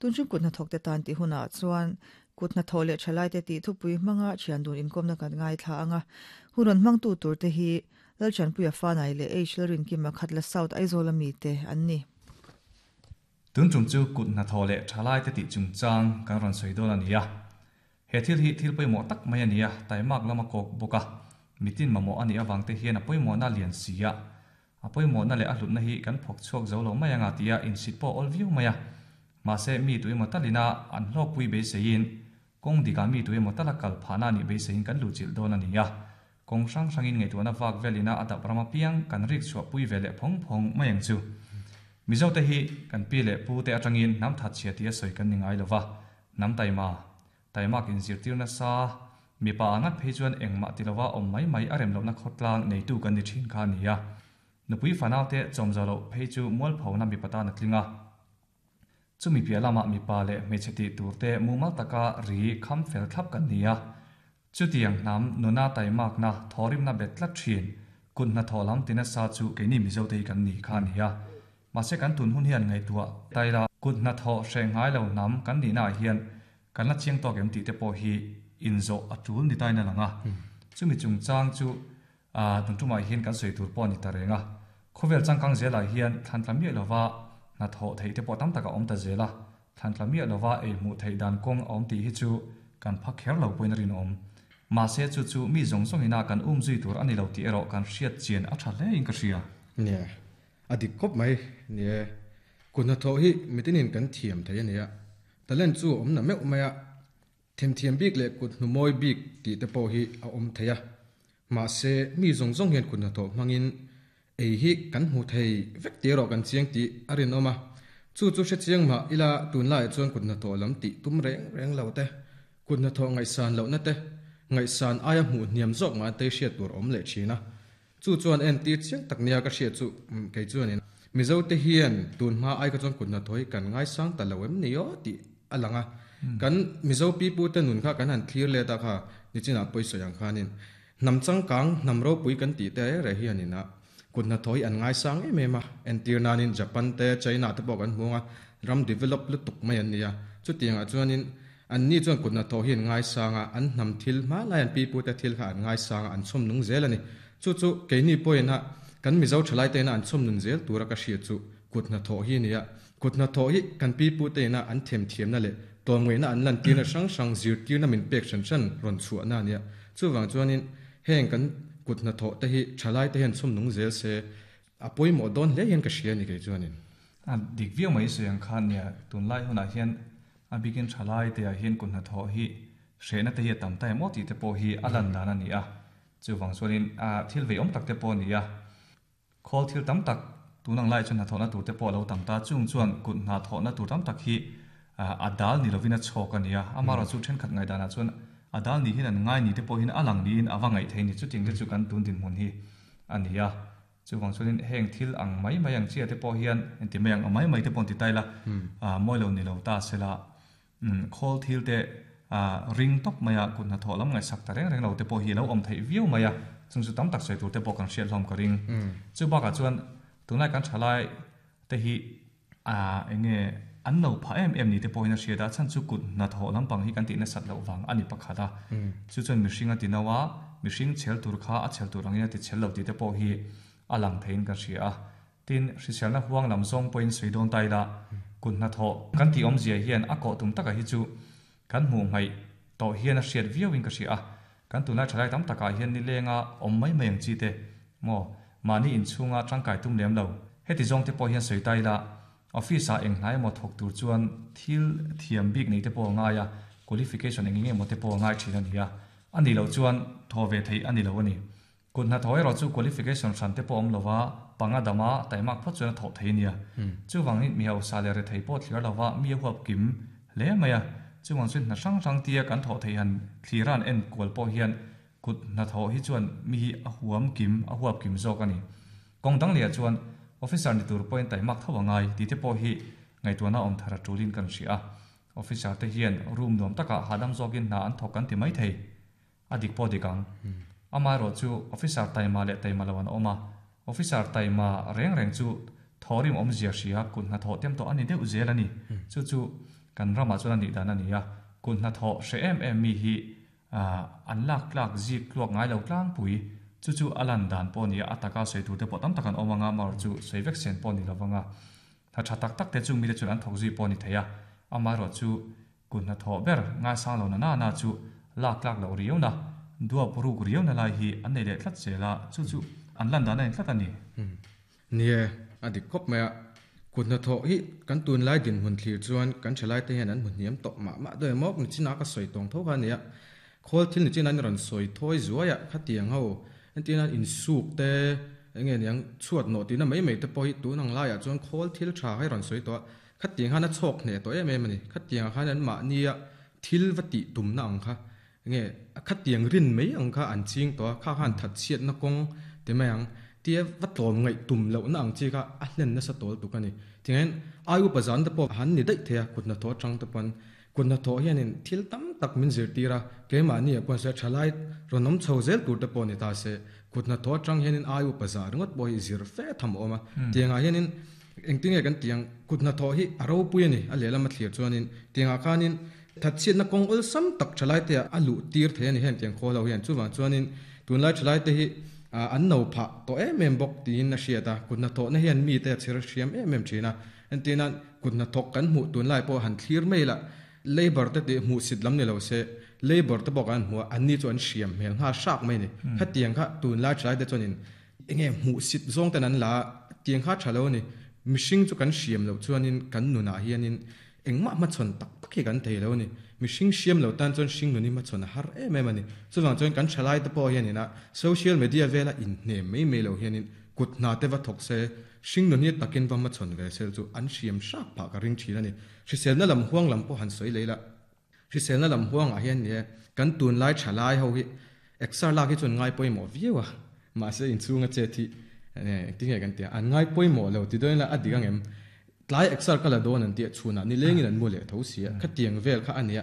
Tun hrim kut hnathawkte tan tih hunah chuan kut hnathawh leh thalaite tih thupui hmanga thian dun inkawmna kan ngaithla ang a. Hun rawn hmangtu turte hi Lalchanpuia Fanai leh H Lalrinkima Khatla South Aizawl ami te an ni. Tun tum chu kut hnathawh leh thalaite tih chungchang kan rawn sawi dawn a ni a. He thil hi thil pawimawh tak mai a ni a, taimak lam a kawk bawk a. Mitin mamawh a nih avang te hian a pawimawhna a lian si a. A pawimawhna leh a hlutna hi kan phawk chhuak zo lo mai anga tia insit pawh a awl viau mai a. Mahse, mi tu emaw talina an hlawkpui beiseiin, kawng dikah mi tu emaw tala kal phahna a nih beiseiin kan luhchilh dawn a ni a. Kawng hrang hrangin ngaihtuahna vak velina a dap ram apiang kan rik chhuahpui ve leh phawng phawng mai ang chu. Mizote hi kan pi leh pu te atangin hnam thatchhia tia sawi kan ni ngai lo va, hnam taima, taimak inzirtir nasa, mipa a ngat phei chuan engmah ti lova awm mai mai a rem lohna khawtlang neitu kan ni thin kha a ni a. Nupui fanaute chawmzawh loh phei chu mualphona mipa tan a tling a. Chumi piah lamah mipa leh hmeichhe tih turte mumal taka ri kham fel thlap kan ni a. Chutiang hnam nuna taimakna thawrimna bet tlat thin, kut hnathawh lam ti nasa chu keini Mizote hi kan ni kha a ni a. Mahse kan tun hun hian ngaihtuah taila kut hnathawh hreh ngai lo hnam kan nihnaah hian kan la chiang tawk em tih te pawh hi inzawh a tul ni tain a lang a. Chumi chungchang chu tun tumah hian kan sawi tur pawh a ni ta reng a. Khawvel changkang zelah hian thlantla miah lova hnathawh theih te pawh tam tak a awm ta zel a. Thlantla miah lova ei hmuh theih dan kawng a awm tih hi chu kan pha kher lo pawhin a rinawm. Mahse chu chu mi zawng zawngina kan um zui tur a ni lo tih erawh kan hriat chian a tha hlein ka hria. Nia, a dik khawp mai. Nia, kut hnathawh hi mitinin kan thiam thei a nia. Talent chu a awm na meuh mai a. Themthiam bik leh kut hnu mawi bik tih te pawh hi a awm thei a. Mahse, mi zawng zawng hian kut hnathawh hmangin ei hi kan hmu thei vek tih erawh kan chiang tih a rinawm a. Chu chu hre chiang mah ila tunlaiah chuan kut hnathawh lam tih tum reng reng lo te, kut hnathawh ngaihsan lohna te, ngaihsan aia hmuh hniam zawk mah te hriat tur a awm leh thin a. Chu chuan entir chiang tak nia ka hriat chu kei chuanin Mizote hian tun hma ai kha chuan kut hnathawh hi kan ngaisang ta lo em ni aw tih a lang a. Kan Mizo pipute nun kha kan han thlir let a kha nichinah pawisawi ang khanin hnam changkang, hnam ropui kan tih te reh hianin a kut hnathawh hi an ngaisang em em a. Entir nanin Japan te, China te pawh kan hmu ang a, ram develop lutuk mai an ni a. Chutiangah chuanin Anni chuan kut hnathawh hi an ngaisang a, an hnam thil hmanlai an pipute thil kha an ngaisang a, an chhawm nung zel a ni. Chu chu keini pawhin a kan Mizo thalai teina an chhawm nun zel tura ka hriat chu kut hnathawh hi a ni a. Kut hnathawh hi kan pipute ina an themthiamna leh tlawmngaihna an lantirna hrang hrang zirtirna min pek hran hran rawn chhuahna a ni a. Chuvang chuanin heng kan kut hnathawh te hi thalai te hian chhawm nung zel se a pawimawh dawn hle hian ka hria a ni kei chuanin. A dik viau mai sawi ang khan nia, tunlai hunah hian A bikin thalai te ah hian kut hnathawh hi hrehna te hi a tam ta em aw tih te pawh hi a lan dan a ni a. Chuvang chuanin thil veiawm tak te pawh a ni a. Khawl thil tam tak tun ang laiah chuan hnathawhna tur te pawh a lo tam ta. Chung chuan kut hnathawhna tur tam tak hi a dal ni lovin a chhawk a ni a. Amaherawhchu thenkhat ngaihdanah chuan a dal ni hian an ngai ni te pawh hian a lang niin a va ngaih thei a ni. Chutiang te chu kan tun dinhmun hi a ni a. Chuvang chuanin heng thil ang mai mai ang chiah te pawh hian engti mai ang mai mai te pawh an ti ta ila, mawi lo ni lo ta sela, khawl thil te ring tawp maia kut hnathawh lam ngaihsak ta reng reng lo te pawh hi a lo awm theih viau mai a, chung chu tam tak sawi tur te pawh kan hriat hlawm ka ring. Chu bakah chuan tunlai kan thalai te hi eng nge an lo phah em em ni te pawhin a hriat a, chhan chu kut hnathawh lampang hi kan tih nasat loh vang a ni pakhat a, chu chuan mihring a ti no a, mihring chhel tur kha a chhel tur angin a ti chhel lo tih te pawh hi a lang theiin ka hria a. Tin, hriselna huang lam zawng pawhin sawi dawn ta ila, kut hnathawh kan tih awmzia hian a kawh tum takah hi chu kan hmuh hmaih tawh hian a hriat viauin ka hria a, kan tunlai thalai tam takah hian nilenga awm mai mai ang chi te maw mahni inchhunga tangkai tum lem lo. Heti zawng te pawh hian sawi ta ila, office ah eng hnai emaw thawk tur chuan thil thiam bik nei te pawh a ngai a, qualification eng eng emaw te pawh a ngai thin a ni a, a nih loh chuan thaw ve theih a ni lo a ni. Kut hnathawh erawh chu qualification hran te pawh awm lova, panga dama taimak phawt chuan a thawh thei a nia. Chuvangin mi hausa leh rethei pawh thlir lova mi a huap kim hle mai a. Chuvang chuan hna hrang hrang tia kan thawh theih han thlira an en kual pawh hian kut hnathawh hi chuan mi hi a huam kim, a huap kim zawk a ni. Kawng dang lehah chuan officer ni tur pawhin taimak tho a ngai tih te pawh hi ngaihtuahna awm thar a tulin kan hria a. Officer te hian room nuam takah hahdam zawkin hna an thawk kan ti mai thei. A dik pawh dik ang. Amaherawh chu officer taima leh taima lo an awm a, officer taima reng reng chu thawhrim awmzia hria kut hnathawh tem tawh a ni deuh zel a ni. Chu chu Kan ramah chuan a nih dan a ni a, kut hnathawh hre em em mi hi an lak tlak zik tluak ngai lo tlangpui. Chu chu a lan dan pawh a ni a, a taka sawi tur te pawh tam tak an awm ang a, amaherawh chu sawi vek sen pawh a ni lo vang a. Hna tha tak tak te chung mite chuan an thawk zui pawh a ni thei a, amaherawh chu kut hnathawh ber ngaisang lo na na na chu lak tlak loh riauna, duap ruk riauna lai hi an nei leh tlat zel a, chu chu an lan dan a ni tlat a ni. Nie, a dik khawp mai a. Kut hnathawh hi kan tunlai dinhmun thlir chuan kan thalaite hian an hmu hniam tawh mah mah dawn emaw nichinah ka sawi tawng tho kha a nia. Khawl thil nichin an rawn sawi thawi zuai a, khatiang ho entirna insuk te eng nge niang chhuat nawh tihna mai mai te pawh hi tun ang laiah chuan khawl thil tha kha i rawn sawi tawh a, khatiang khan a chhawk hneh tawh em em a ni. Khatiangah khan anmahnia thil va tih tumna ang kha Nge, a khatiang rin mai ang kha an ching tawh a, kha khan thatchhiatna kawng ti mai ang, tia va tlawm ngaih tum lohna ang chi kha a hlen nasa tawl tuk a ni. Tingain, ai upa zan te pawh han ni daih thei a, kut hnathawh atang te pawn. Kut hnathawh hianin thil tam tak min zirtir a, keimahni ah pawh se thalai rawn awm chho zel tur te pawh ni ta se, kut hnathawh atang hianin ai upa zah ringawt pawh hi zir fe tham a awm a. Tiangah hianin engtinge kan tih ang, kut hnathawh hi a ropui a ni, a lehlam a thlir chuanin. Tiangah khanin Thatchhiatna kawng awlsam tak thalaite ah a luh tir thei a ni heng tiang khaw lo hian. Chuvang chuanin tunlai thalaite hi an no phah tawh em em bawk tiin a hriat a, kut hnathawhna hian mite a chher hriam em em thin a. Entirna kut hnathawk kan hmuh tunlai pawh han thlir mai la, labour te tih hmuhsit lam ni lo se, labour te pawh kan hmu a, anni chu an hriam hmel nghal hrak mai a ni. Khatiang kha tunlai thalaite chuanin Enge hmuhsit zawng ten an la a, tiang kha tha lo a ni. Mihring chu kan hriam loh chuanin kan nunah hianin engmah hmachhawn tak tak hi kan thei lo a ni. Mihring hriam lo tan chuan hring nun hi hmachhawn a har em em a ni. Chuvang chuan kan thalai te pawh hianin a social media vela inhnem mai mai lo hianin kut hna te va thawk se, hring nun hi takin va hmachhawn ve sel chu an hriam hrak phah ka ring thin a ni. Hriselna lam huang lam pawh han sawi lei la. Hriselna lam huangah hian ni e, kan tunlai thalai ho hi exer lak hi chuan ngai pawimawh viau a, mahse inchhunga chet hi engtin nge kan ti a, an ngai pawimawh lo ti dawn ila a dik ang em? Tlai exer ka la dawn an tih a, chhunah nilengin an mu leh tho si a, khatiang vel kha a nia,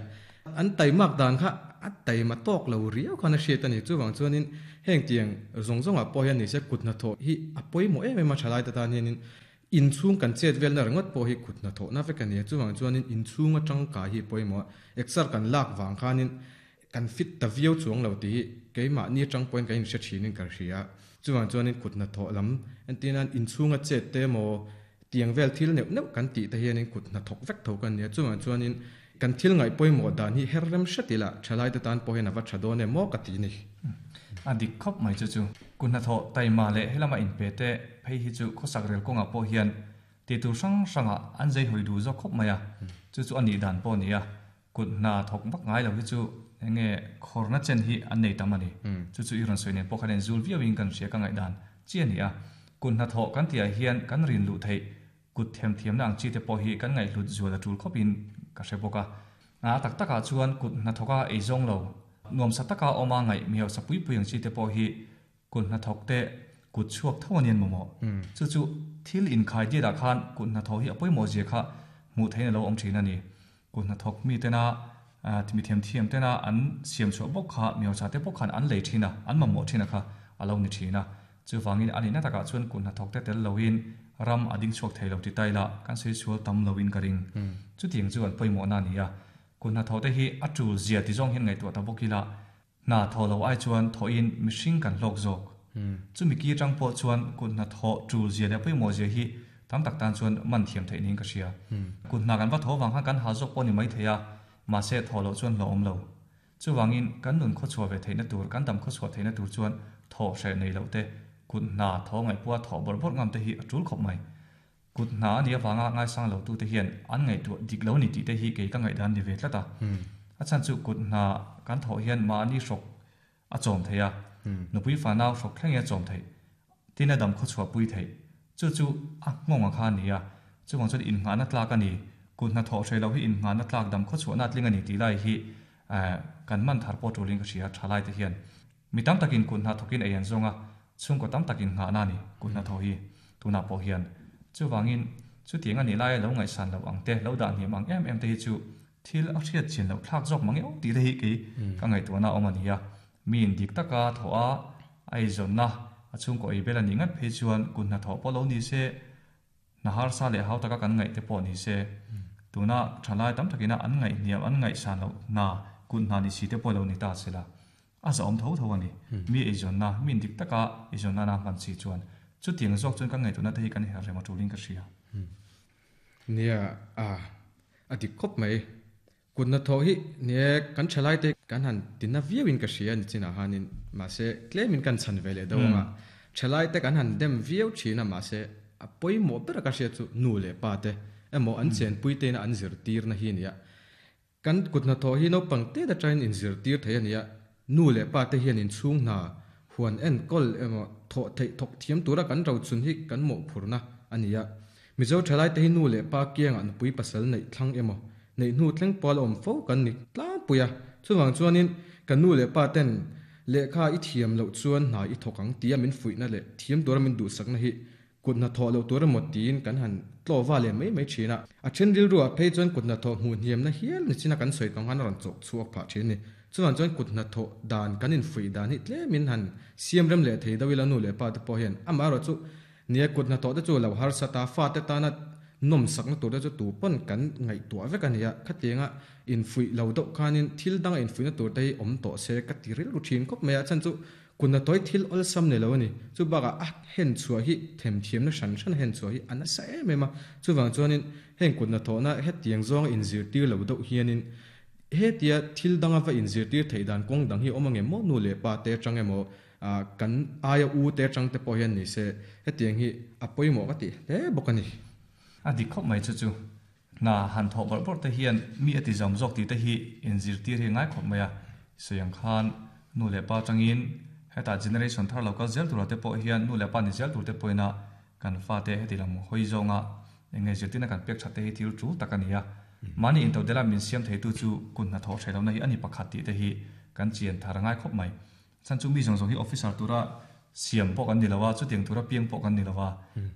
an taimak dan kha a taima tawk lo riau khan a hriat a ni. Chuvang chuanin heng tiang zawng zawngah pawh hian nise kut hnathawh hi a pawimawh em em a thalaite tan hianin Inchhung kan chet velna ringawt pawh hi kut hnathawhna vek a ni a, chuvang chuanin inchhung atangkai hi pawimawh a, exer kan lak vang khanin kan fit ta viau chuang lo tih hi keimahni atang pawhin kan inhre thinin ka hria a, chuvang chuanin kut hnathawh lam entirnan inchhunga chet te emaw tiang vel thil neuh neuh kan tih te hianin kut hnathawk vek tho kan ni a, chuvang chuanin kan thil ngaih pawimawh dan hi her rem hret ila thalaite tan pawh hian a va tha dawn em maw ka ti ni. A dik khawp mai chu chu. Kut hnathawh taima leh helama inpe te phei hi chu khawsak rel kawngah pawh hian tih tur hrang hrangah an zei hawi duh zawk khawp mai a, chu chu a nih dan pawh a ni a. Kut hna thawk vak ngai lo hi chu enge khawrna chen hi an nei tam a ni. Chu chu i rawn sawi nen pawh khan enzul viauin kan hria ka ngaihdan chi a ni a. Kut hnathawh kan tihah hian kan rin luh theih Kut themthiamna ang chi te pawh hi kan ngaihhlut zual a tul khawpin ka hre bawk a. A tak takah chuan kut hnathawka ei zawng lo, nuamsa taka awma ngaih mi hausa pui pui ang chi te pawh hi kut hnathawk te kut chhuak tho a nian mawmawh. Chu chu thil inkhai diatah khan kut hnathawh hi a pawimawh zia kha hmuh theihin a lo awm thin a ni. Kut hnathawk mi tena mi thiamthiam tena an siam chhuah bawk kha mi hausa te bawk khan an lei thin a, an mamawh thin a kha a lo ni thin a. Chuvangin a nihna takah chuan kut hnathawk te tel loin ram a ding chhuak thei lo ti ta ila kan sawi sual tam loin ka ring. Chutiang chu an pawimawhna a ni a. Kut hnathawh te hi a tul zia ti zawng hian ngaihtuah ta bawk ila hna thawh lo ai chuan thawhin mihring kan hlawk zawk. Chumi ki atang pawh chuan kut hnathawh tul zia leh pawimawh zia hi tam tak tan chuan man thiam theih niin ka hria. Kut hna kan va thaw vang khan kan ha zawk pawh ni mai thei a, mahse thawh loh chuan hlawhawm lo. Chuvangin kan nun khawchhuah ve theihna tur, kan dam khawchhuah theihna tur chuan thawh hreh nei loh te, kut hna thaw ngaihpua thawh bawrh bawrh ngam te hi a tul khawp mai. Kut hna a nih avanga ngaisang lo tute hian an ngaihtuah dik lo ni tih te hi kei ka ngaihdan ni ve tlat a. A chhan chu kut hna kan thawh hian mahni hrawk a chawm thei a, nupui fanau hrawk thlengin a chawm theih, tin a dam khawchhuah pui theih. Chu chu a nghawng a kha a ni a, chuvang chuan innghahna tlak a ni, kut hna thawh hreh loh hi innghahna tlak dam khawchhuahna a tling a ni tih lai hi kan man thar pawh tulin ka hria tha lai te hian. Mi tam takin kut hna thawkin ei an zawng a, chhungkaw tam takin nghahna a ni kut hna thawh hi tunah pawh hian. Chuvangin chutiang a nih laia lo ngaihsan loh ang te, lo dah hniam ang em em te hi chu thil a hriat chian loh thlak zawk mang eo tih te hi kei ka ngaihtuahna a awm a ni a. Miin dik taka thawh a, a eizawnna, a chhungkaw ei bel a nih ngat phei chuan kut hnathawh pawh lo ni se, hna harsa leh hau taka kan ngaih te pawh ni se. Tuna thalai tam takina an ngaihhniam, an ngaihsan loh hna, kut hna ni si te pawh lo ni ta sela, a zahawm tho tho a ni. Mi eizawnna, mi indik taka eizawnna na hman si chuan chutiang zawk chuan kan ngaihtuahna te hi kan her rem a tulin ka hria. Nia, a, a dik khawp mai. Kut hnathawh hi nie kan thalai te kan han ti na viau in ka hria ni chinah hanin mahse tlem in kan chhan ve leh deuh anga thalai te kan han dem viau thin a mahse a pawimawh ber a ka hriat chu nu leh pa te emaw an chenpui te ina an zirtir na hi ania kan kut hnathawh hi naupang te atangin in zirtir thei ania nu leh pa te hian inchhung hna huan enkawl emaw thawh theih thawk thiam tura kan rochun hi kan mawhphurhna a ni a. Mizo thalaite hi nu leh pa kiangah nupui pasal neih thlang emaw neih hnu thleng pawl a awm fo kan ni tlangpui a. Chuvang chuanin kan nu leh pa ten lehkha i thiam loh chuan hna i thawk ang tia min fuihna leh thiam tura min duhsakna hi Kut hnathawh loh tur emaw tiin kan han tlawh va leh mai mai thin a. A then rilruah phei chuan kut hnathawh hmuh hniamna hial ni chin a kan sawi tawng khan a rawn chawk chhuak phah thin a ni. Chuvang chuan kut hnathawh dan kan infuih dan hi tlemin han siam rem leh thei deuh ila nu leh pa te pawh hian amaherawh chu nia kut hnathawh te chu lo harsa ta fate tana nawmsakna tur te chu tu pawn kan ngaihtuah vek a ni a. Khatianga infuih lo deuh khanin thil danga infuihna tur te hi awm tawh se ka ti rilru thin khawp mai a. Chhan chu Kut hnathawih thil awlsam ni lo a ni. Chu bakah a hen chhuah hi themthiamna hran hran a hen chhuah hi a nasa em em a. Chuvang chuanin heng kut hnathawhna hetiang zawnga inzirtir lo deuh hianin hetia thil danga va inzirtir theih dan kawng dang hi awm angem maw nu leh pa te atang emaw kan aia u te atang te pawh hian ni se hetiang hi a pawimawh ka tih hle bawk a ni. A dik khawp mai chu chu. Hna han thawh bawrh bawrh te hian mi a ti zawm zawk tih te hi inzirtir hi a ngai khawp mai a. Sawi ang khan nu leh pa atangin hetah generation thar lo kal zel turah te pawh hian nu leh pa ni zel tur te pawhin a kan fate heti lam hawi zawnga eng nge zirtirna kan pek that te hi thil tul tak a ni a. Mahni intodela min siam theitu chu kut hnathawh hreh lohna hi a ni pakhat tih te hi kan chian thar a ngai khawp mai. Chhan chu mi zawng zawng hi officer tura siam pawh kan ni lo a, chutiang tura piang pawh kan ni lo a.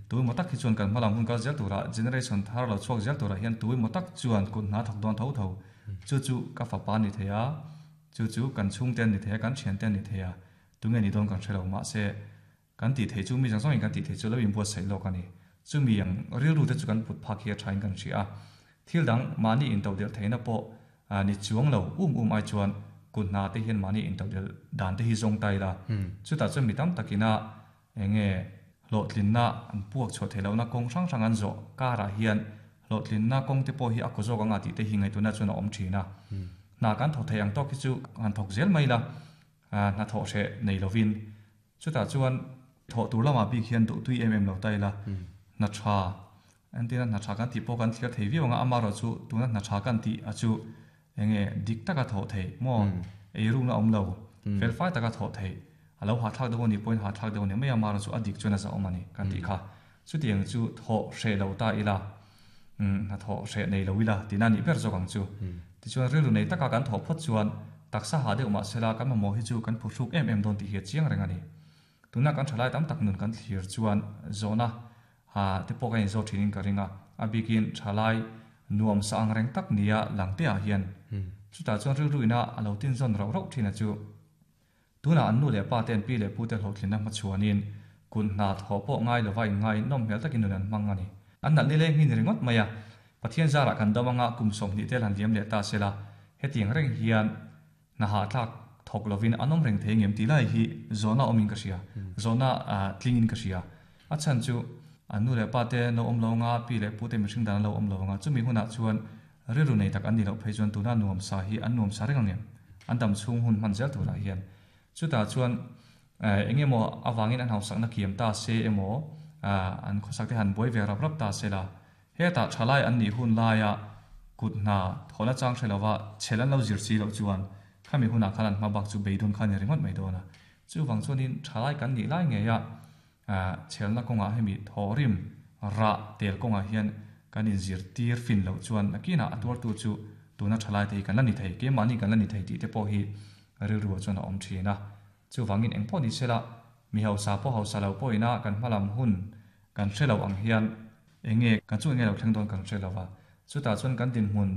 Tu emaw tak hi chuan kan hmalam hun kal zel turah, generation thar lo chhuak zel turah hian tu emaw tak chuan kut hna thawk dawn tho tho. Chu chu ka fapa a ni thei a, chu chu kan chhungte an ni thei a, kan thiante an ni thei a, tunge ni dawn kan hre lo. Mahse, kan tih theih chu mi zawng zawngin kan tih theih chu lo inbuatsaih lawk a ni. Chumi ang rilru te chu kan put phak hi a thain kan hria a. Thil dang mahni intodelh theihna pawh ni chuang lo um um ai chuan kut hna te hian mahni intodelh dan te hi zawng ta ila. Chutah chuan mi tam takina eng nge hlawhtlinna an puak chhuah theih lohna kawng hrang hrang an zawh karah hian hlawhtlinna kawng te pawh hi a kaw zawk anga tih te hi ngaihtuahna chuan a awm thin a. Hna kan thawk theih ang tawk hi chu han thawk zel mai ila hna thawh hreh nei lovin Chutah chuan thawh tur lamah bik hian duhtui em em lo ta ila, hna tha, entirna hna tha kan tih pawh kan thlir thei viau ang a, amaherawh chu tuna hna tha kan tih a chu enge dik taka thawh theih maw, eirukna awm lo, felfai taka thawh theih, a lo hahthlak deuh a nih pawhin hahthlak deuh a ni mai a, amaherawh chu a dik chuan a zahawm a ni kan tih kha. Chutiang chu thawh hreh lo ta ila, hna thawh hreh nei lo ila tihna a nih ber zawk ang chu. Tichuan rilru nei taka kan thawh phawt chuan taksa hah deuh mah sela kan mamawh hi chu kan phuhruk em em dawn tih hi a chiang reng a ni. Tuna kan thalai tam tak nun kan thlir chuan zawhna ha te pawh kan inzawt thinin ka ring a, a bikin thalai nuam sa ang reng tak nia langte-ah hian chutah chuan rilru ina a lo tinzawn rauh rauh thin a chu. Tunah an nu leh pa te an pi leh pu te hlawhtlinna hmachhuanin kut hna thawh pawh ngai lova inngai nawm hmel takin nun an hmang a ni. An nalh nileng hi ni ringawt mai a, Pathian zarah kan dam anga kum 20 tel han liam leh ta sela, hetiang reng hian hna hahthlak thawk lovin an awm reng thei ngem tih lai hi zawhna awmin ka hria, zawhna tlingin ka hria. A chhan chu an nu leh pa te an lo awm lo anga, pi leh pu te mihring dan an lo awm lo anga, chumi hunah chuan Rilru nei tak an nih loh phei chuan tuna nuamsa hi an nuamsa reng ang em? An dam chhung hun hman zel turah hian. Chutah chuan eng emaw avangin an hausakna kiam ta se emaw an khawsak te han buai ve rap rap ta se la, hetah thalai an nih hun laia kut hna thawhna chang hre lova chhel an lo zir si loh chuan khami hunah khan an hma bak chu beidun kha a ni ringawt mai dawn a. Chuvang chuanin thalai kan nih lai ngeia Chhelna kawngah hemi thawhrim rah tel kawngah hian kan inzirtir fin loh chuan nakinah a tuartu chu tuna thalaite hi kan la ni thei, keimahni kan la ni thei tih te pawh hi rilruah chuan a awm thin a. Chuvangin eng pawh ni sela, mi hausa pawh hausa lo pawhina kan hmalam hun kan hre lo ang hian enge kan chu enge lo thleng dawn kan hre lo va, chutah chuan kan dinhmun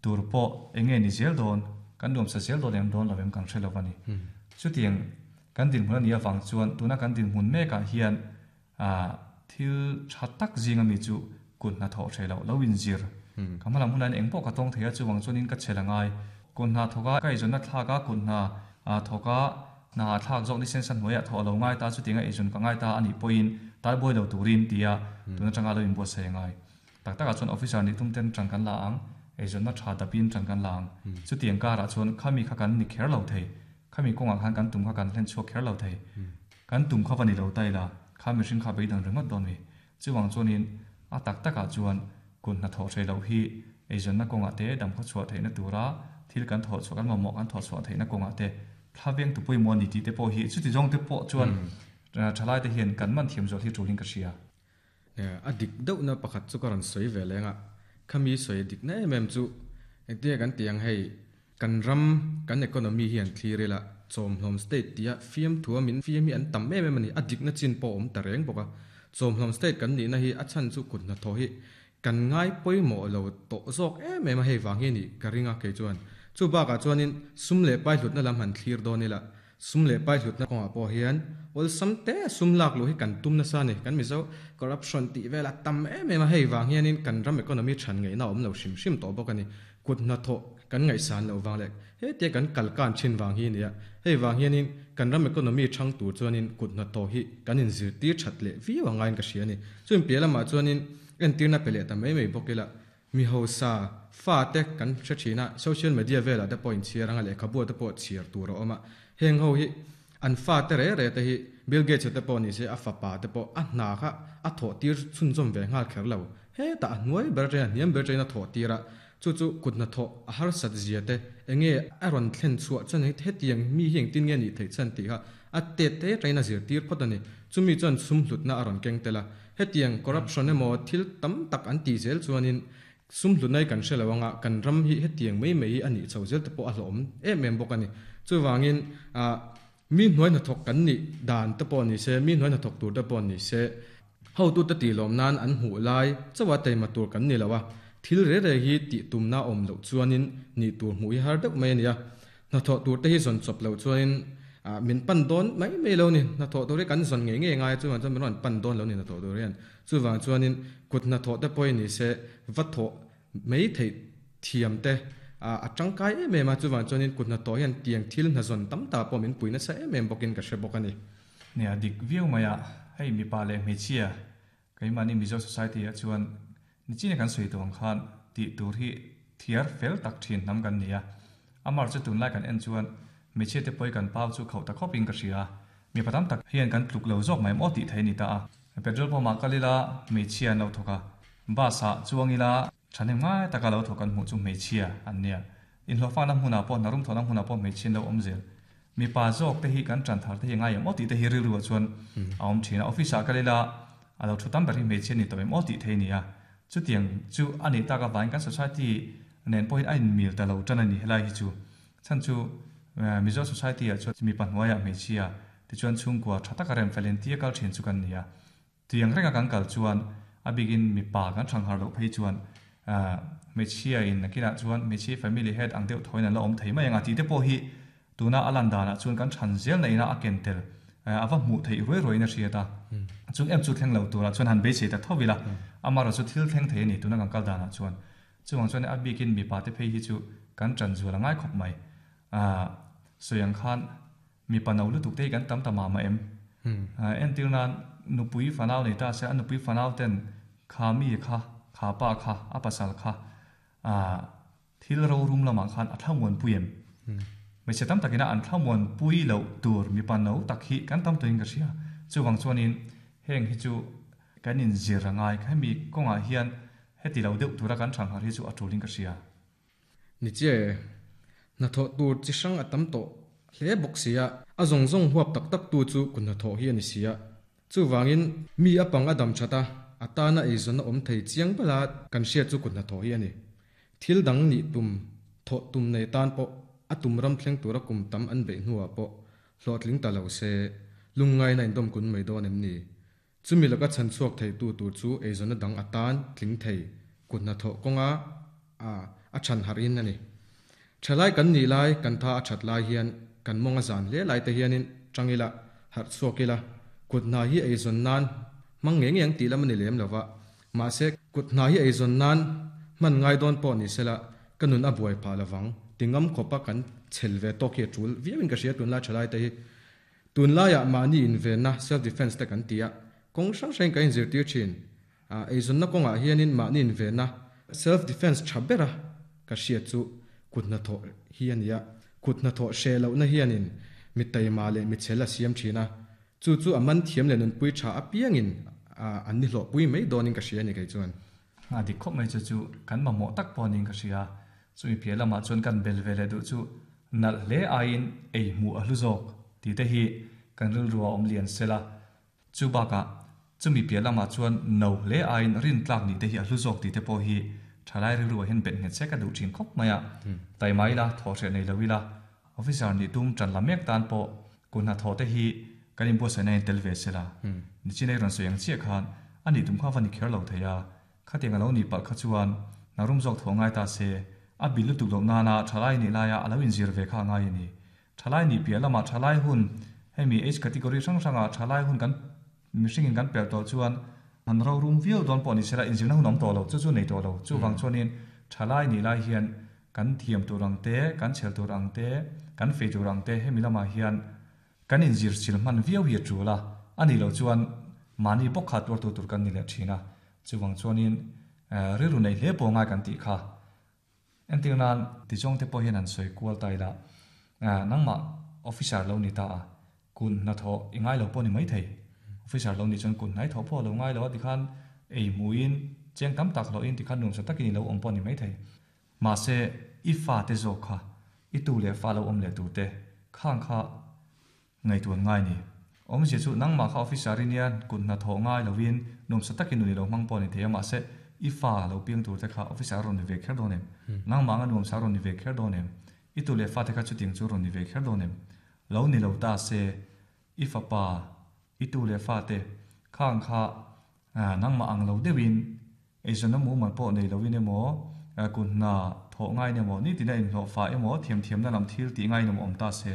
tur pawh enge ni zel dawn, kan nuamsa zel dawn em dawn lo em kan hre lo va ni. Chutiang Kan dinhmun a nih avang chuan tuna kan dinhmun mekah hian thil tha tak zinga mi chu kut hnathawh hreh loh lo inzir. Ka hma lam hunah hian engpawh ka tawng thei a, chuvang chuanin ka chhel a ngai. Kut hna thawk a, ka eizawnna thlak a, kut hna thawk a, hna thlak zawk ni sensa hnuaiah thawh a lo ngai ta, chutianga eizawn ka ngai ta a nih pawhin talbuai lo turin tia tun atanga lo inbuatsaih a ngai. Tak takah chuan officer nih tum ten ṭan kan la ang, eizawnna ṭha dapin ṭan kan la ang. Chutiang karah chuan khami kha kan ni kher lo thei, khami kawngah khan kan tum kha kan hlen chhuak kher lo thei. Kan tum kha va ni lo ta ila, kha mihring kha beidang ringawt dawn mi. Chuvang chuanin a tak takah chuan kut hnathawh hreh loh hi eizawnna kawngah te damkhaw chhuah theihna tura thil kan thawh chhuah, kan mamawh kan thawh chhuah theihna kawngah te thla veng tu pawimawh a ni tih te pawh hi chuti zawng te pawh chuan thalaite hian kan man thiam zual hi tulin ka hria. A dik deuhna pakhat chu ka rawn sawi ve leng a, khami sawi dikna em em chu engtinge kan tih ang hei, kan ram, kan economy hi an thlir ila, chawmhlawm state tia fiamthua min fiam hi an tam em em a ni, a dikna chin pawh a awm ta reng bawk a, chawmhlawm state kan nihna hi a chhan chu kut hnathawh hi kan ngai pawimawh lo tawh zawk em em a, hei vang hi a nih ka ring a kei chuan. Chu bakah chuanin sum leh pai hlutna lam han thlir dawn ila, Sum leh pai hlutna kawngah pawh hian awlsam te sum lak luh hi kan tum nasa a ni. Kan Mizo corruption tih vel a tam em em a, hei vang hianin kan ram economy than ngaihna a awm lo hrim hrim tawh bawk a ni. Kut hnathawh kan ngaihsan loh vang leh hetia kan kal kan thin vang hi a ni a, hei vang hianin kan ram economy thang tur chuanin kut hnathawh hi kan inzirtir that leh viau angaiin ka hria a ni. Chumi piah lamah chuanin entirna pe leh ta mai mai bawk ila, Mi hausa fa te kan hre thin a, social media velah te pawh inchhiar anga lehkhabu te pawh chhiar tur a awm a. Heng ho hi an fa te re re te hi Bill Gates-a te pawh ni se a fapa te pawh a hna kha a thawh tir chhunzawm ve nghal kher lo. Hetah a hnuai ber atangin a hniam ber atangin a thawh tir a, chu chu kut hnathawh a harsat zia te enge a rawn thlen chhuah chuan hetiang mi hi engtin nge nih theih chhan tih kha a tet te atangin a zirtir phawt a ni. Chumi chuan sum hlutna a rawn keng tel a. Hetiang corruption emaw thil tam tak an tih zel chuanin sum hlutna hi kan hre lo anga kan ram hi hetiang mai mai hi a nih chho zel te pawh a hlawhawm em em bawk a ni. Chuvangin ah mi hnuai hnathawk kan nih dan te pawh ni se, mi hnuai hnathawk tur te pawh ni se, hotute tih lawm nan an hmuh lai chauh a teima tur kan ni lo a, thil re re hi tih tumna awm loh chuanin nih tur hmuh hi har deuh mai a ni a. Hnathawh tur te hi zawn chawp loh chuanin min pan dawn mai mai lo ni. Hnathawh tur hi kan zawn ngei ngei ngai a, chuvang chuan min rawn pan dawn lo ni hnathawh tur hian. Chuvang chuanin kut hnathawh te pawhin ni se va thawh mai theih thiam te a tangkai em em a, chuvang chuanin kut hnathawh hian tiang thil hnazawn tam tak pawh min pui nasa em em bawkin ka hre bawk a ni. Nia, dik viau mai a, hei mipa leh hmeichhia Keimahni Mizo Society ah chuan nichina kan sawi tawh ang khan tih tur hi thiar fel tak thin hnam kan ni a. Amar chu tunlai kan en chuan hmeichhia te pawi kan pau chu khauh ta khawp in ka hria. Mipa tam tak hian kan tluk lo zawk mai maw tih thei a ni ta a. Petrol pump ah kal ila hmeichhia an lo thawk a, bus ah chuang ila thahnem ngai taka lo thawk kan hmuh chu hmeichhia an nia. Inhlawhfakna hmunah pawh hna rum thawhna hmunah pawh hmeichhia an lo awm zel. Mipa zawk te hi kan ṭan thar te hi ngai em aw tih te hi rilru ah chuan a awm ṭhin a. Office ah kal ila a lo thu tam ber hi hmeichhia ni tawh em aw tih thei a ni a. Chutiang chu a nih tak avangin kan society nen pawhin a inmil ta lo ṭan a ni helai hi chu. Chhan chu Mizo society ah chuan mipa hnuaiah hmeichhia tichuan chhungkua ṭha taka rem fel intia kal ṭhin chu kan ni a. Tiang renga kan kal chuan a bikin mipa kan hrang har loh phei chuan hmeichhia in nakinah chuan hmeichhia family head ang deuh thawiin an la awm thei mai ang a tih te pawh hi tuna a lan danah chuan kan chhan zel na ina a ken tel a va hmuh theih ruai ruaiin a hriat a. Chung em chu thleng lo turah chuan han beisei ta tho ila amaherawhchu thil thleng thei a ni tuna kan kal danah chuan. Chuvang chuan a bikin mipa te phei hi chu kan ṭan zual a ngai khawp mai. Sawi ang khan Mipa no lutuk te hi kan tam ta mah mah em? Entir nan nupui fanau nei ta se, a nupui fanau ten kha mi kha, kha pa kha, a pasal kha thil rorum lamah khan a thlamuanpui em? Hmeichhe tam takin a an thlamuanpui loh tur mipa no tak hi kan tam tawhin ka hria. Chuvang chuanin heng hi chu kan inzir a ngai. Hemi kawngah hian heti lo deuh tura kan thangharh hi chu a tulin ka hria. Ni che, hnathawh tur chi hrang a tam tawh hle bawk si a, a zawng zawng huap tak tak tu chu kut hnathawh hi a ni si a. Chuvangin, mi a pang a dam that a, a tana eizawn a awm thei chiang bala kan hriat chu kut hnathawh hi a ni. Thil dang nih tum, thawh tum nei tan pawh a tum ram thleng tura kum tam an beih hnuah pawh hlawhtling ta lo se, lungngaina indawm kun mai dawn em ni? Chumi laka chhan chhuak theitu tur chu eizawnna dang atan tling thei kut hnathawh kawnga a a chhan harh in a ni. Thalai kan nih lai, kan tha a that lai hian kan mawng a zan hle lai te hianin tang ila, harh chhuak ila, kut hna hi eizawn nan hmang ngei ngei ang tih lam a ni lem lova. Mahse, kut hna hi eizawn nan hman ngai dawn pawh ni sela ka nun a buai phah lovang ti ngam khawpa kan chhel ve tawk hi a tul viauin ka hria tunlai thalai te hi. Tunlaiah mahni invenna, self defence, te kan ti a, kawng hrang hrangin kan inzirtir thin. Eizawnna kawngah hianin mahni invenna, self defence, tha bera ka hriat chu kut hnathawh hi a ni a. Kut hnathawh hreh lohna hianin mi taima leh mi chhel a siam thin a, chu chu a man thiam leh nunpui tha apiangin an ni hlawhpui mai dawnin ka hria a ni kei chuan. A dik khawp mai chu chu kan mamawh tak pawh niin ka hria. Chumi piah lamah chuan kan bel ve leh duh chu nalh hle aiin ei hmuh a hlu zawk tih te hi kan rilru a awm lian sel a. Chu bakah chumi piah lamah chuan no hle aiin rin tlak nih te hi a hlu zawk tih te pawh hi thalai rilru ah hian bet nghet se ka duh thin khawp mai a. Taima ila, thawhhreh nei lo ila, Officer nih tum tan la mek tan pawh kut hnathawh te hi kan inbuatsaihna in tel ve sela. Nichin ei rawn sawi ang chiah khan a nih tum kha va ni kher lo thei a, khatiang a lo nih palh kha chuan hna rum zawk thawh ngai ta se, a bil lutuk loh nana thalai nih laia a lo inzir ve kha a ngai a ni. Thalai nih piah lamah thalai hun, hemi age category hrang hranga thalai hun kan mihringin kan pelh tawh chuan han ro rum viau dawn pawh ni sela inzirna hun awm tawh lo, chu chu nei tawh lo. Chuvang chuanin thalai nih lai hian Kan thiam tur ang te, kan chhel tur ang te, kan fei tur ang te hemi lamah hian kan inzir chil hman viau hi a tul a, a nih loh chuan mahni bawk kha tuartu tur kan ni leh thin a. Chuvang chuanin rilru neih hle pawh ngai kan tih kha. Entir nan tizawng te pawh hian han sawi kual ta ila, nangmah officer lo ni ta a, Kun hnathawh i ngai lo pawh ni maithei. Officer lo nih chuan kun hnai thawh pawh a lo ngai lo a tikhan ei hmuhin cheng tam tak hlawhin tikhan nuamsa takin i lo awm pawh ni maithei. Mahse, i fate zawk kha, i tu leh fa lo awm leh turte khang kha ngaihtuan ngai ni. Awmzia chu nangmah kha officer i nia kut hnathawh ngai lovin nuamsa takin nun i lo hmang pawh ni thei a, mahse i fa lo piang turte kha officer a rawn ni ve kher dawn em? Nangmah anga nuamsa a rawn ni ve kher dawn em? I tu leh fate kha chutiang chu a rawn ni ve kher dawn em? Lo ni lo ta se, i fapa, i tu leh fate khang kha nangmah ang lo deuhin Eizawnna mumal pawh nei loin emaw, kut hna thawh ngaiin emaw, nitin a inhlawh fah emaw, thiamthiamna lam thil tih ngaiin emaw awm ta se.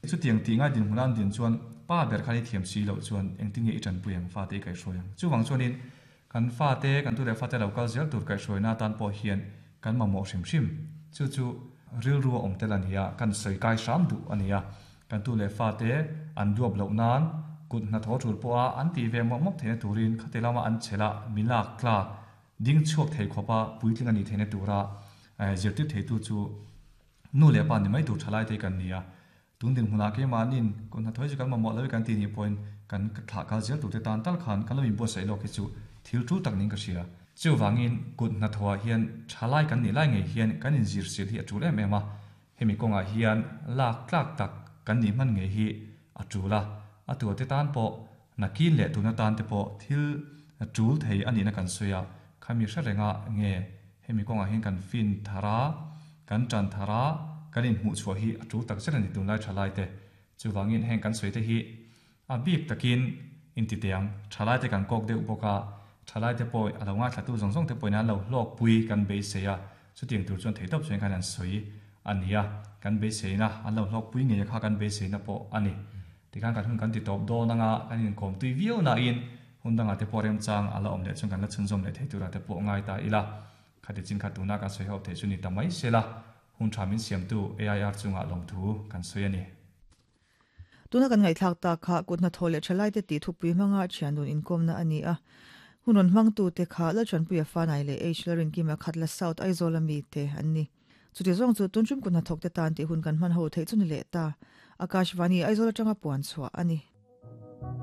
Chutiang tih ngai dinhmun a an din chuan pa ber khan i thiam si loh chuan engtin nge i tanpui ang, fate i kaihhruai ang. Chuvang chuanin kan fate, kan tu leh fate lo kal zel tur kaihhruaina atan pawh hian kan mamawh hrim hrim. Chu chu rilru a awm tel a ni a, kan sawi kai hram duh a ni a. Kan tu leh fate an duap loh nan kut hnathawh tul pawha an tih ve mawp mawp theihna turin khati lama an chhela mi lak tlak ding chhuak thei khawpa puitling a nih theihna tura zirtir theitu chu nu leh pa ni mai tur thalai te kan ni a. Tun dinhmunah keimahnin kut hnathawh hi chu kan mamawh lo i kan tih nih pawhin kan thlah kal zel turte tan tal khan kan lo inbuatsaih lawk hi chu thil tul tak niin ka hria. Chuvangin kut hnathawhah hian thalai kan nih lai ngei hian kan inzir sil hi a tul em em a. Hemi kawngah hian lak tlak tak kan nih hman ngei hi a tul a, a tuate tan pawh nakin leh tuna tan te pawh thil tul thei a nihna kan sawi a, khami hre renga nge hemi kawngah hian kan fin thar a, kan tan thar a, kan inhmuh chhuah hi a tul tak zet a ni tunlai thalai te. Chuvangin heng kan sawi te hi a bik takin intitiang thalai te kan kawk deuh bawk a, thalai te pawh a lo ngaithlatu zawng zawng te pawhin an lo hlawkpui kan beisei a, chutiang tur chuan theihtawp chuan khan an sawi a ni a, kan beiseina an lo hlawkpui ngei a kha kan beiseina pawh a ni. Tikhan kan hun kan ti tawp dawn anga kan inkawm tui viau nain hun dangah te pawh remchang a la awm leh chuan kan la chhunzawm leh thei turah te pawh ngai ta ila, khati chin kha tuna kan sawi ho theih chu ni ta mai sela, hun tha min siamtu AIR chungah lawmthu kan sawi a ni. Tuna kan ngaihthlak tak kha kut hnathawh leh thalaite tih thupui hmanga thiandun inkawmna a ni a. Hun rawn hmangtute kha Lalchanpuia Fanai leh H Lalrinkima Khatla South Aizawl ami te an ni. Chuti zawng chu tun tum kut hnathawkte tan tih hun kan hman ho theih chu ni leh ta. Akashvani Aizawl atanga puan chhuah a ni.